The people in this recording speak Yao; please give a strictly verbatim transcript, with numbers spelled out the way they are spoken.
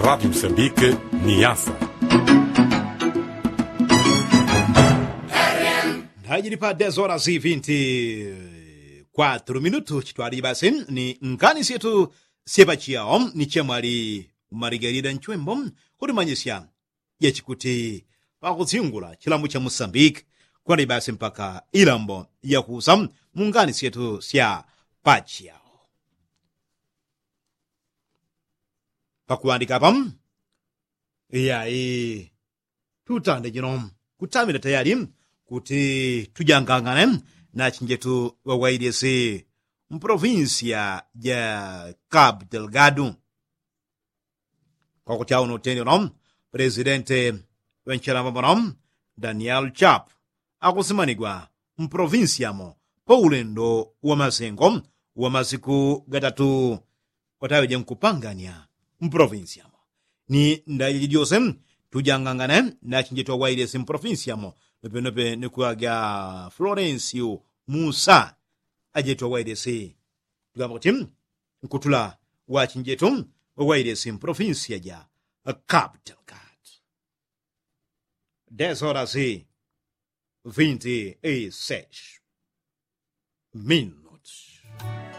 Radi msambike ni yasa. Ndajili pa dez horas vinti kwatru minutu chitwaliji basi ni ngani syetu syepachiao ni chemwali maligalida nchwembo kulimanyisya jachikuti pakusyungula chilambo cha musambike kwaliji basi mpaka ilambo yakusa mu ngani syetu sya pachiao. Pakuŵandika apa iyai tutande jino kutamila tayali kuti tujangangane na chinjetu ŵawailisi mpolovinsiya ja kabu delgadu. Kwakuti auno utende uno pulesidente ŵenchelamba muno daniel chapu akusimanigwa mpolovinsiya mo paulendo wa masengo wa masiku gatatu wataŵeje nkupangania mpolovinsi yamo ni ndaje jijose tujangangane na chinjetu awailesi mpolovinsi yamo. Nopenope ni kuŵaga florensiu musa ajetu awailesi tugamba kuti nkutula wa chinjetu awailesi mpolovinsi yaja kabtelkat. Dez horas vinti y seis minutu.